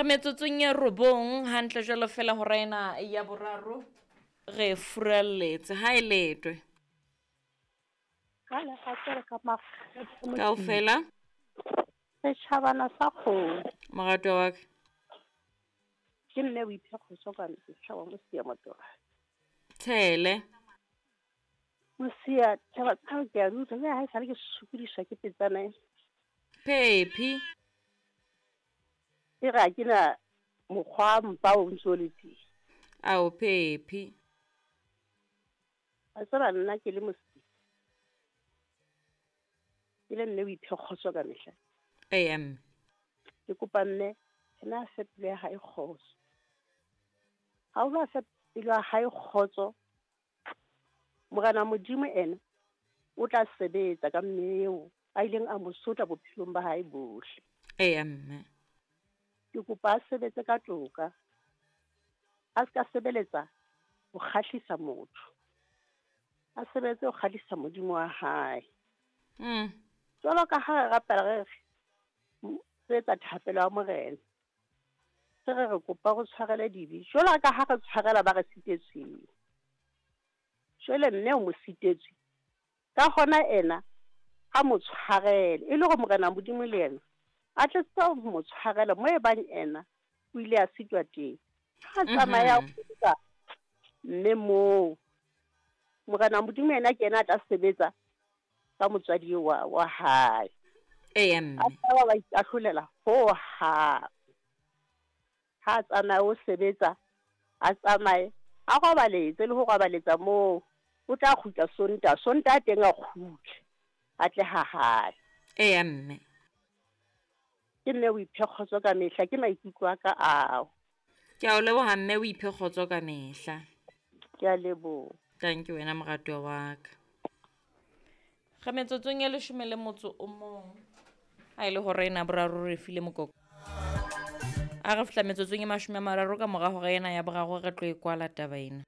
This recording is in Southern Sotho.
Re metsotsong e robong hantle jwalo fela hora ena ya boraro re furalletse ha e letwe. Ka lerato ka makgethe Kaofela setjhabana sa kgomo. Moratwa wa ka. Ke mme o iphe kgotso ka mehla wa Mosia Motoba. Tshele. Mosia taba tsa ke a di utlwa jwale ha esale ke sokodiswa ke petsana ena. Phephi. E re ha ke na mokgwa mpa o ntso le teng. Ao Phephi. Wa tseba nna ke le Mosia. Ke le mme o iphe kgotso ka mehla. Eya mme. Ke kopa mme ena a fe pelo ya hae kgotso. Ha o ba fe pelo ya hae kgotso, Morena Modimo ena o tla sebetsa ka mme eo a ileng a mo sotla bophelong ba hae bohle. Eya mme. Ke kopa a sebetse ka toka. A ska sebeletsa ho kgahlisa motho. A sebetse ho kgahlisa Modimo wa hae. Jwalo ka ha re rapela re re etsa thapelo ya Morena. Re re re kopa re tshwarele dibe. Jwalo ka ha re tshwarela ba re sitetsweng. Jwale mme o mo sitetswe. Ka hona ena a mo tshwarele e le hore Morena Modimo le yena a tle tsebe ho mo tshwarela mo e bang ena o ile a sitwa teng. Ha tsamaya ka mme moo Morena Modimo yena ke yena a tla sebetsa ka motswadi wa hae. Eya mme. A tla ba ikahlolela ho hang. Ha tsamaya o sebetsa, a tsamaye a robaletse le ho robaletsa moo. O tla kgutla Sontaha, Sontaha teng a kgutle. A tle ha hae. Eya mme. Ke mme o iphe kgotso ka mehla, ke maikutlo a ka ao. Ke a o leboha mme o iphe kgotso ka mehla. Ke a leboha. Thank you wena moratuwa wa ka. Re metsotsong e 11. Ha e le hore ena boraro re file mokoko. A re fihla metsotsong e 30 ka mora hora ena ya boraro re tlo e kwala taba ena.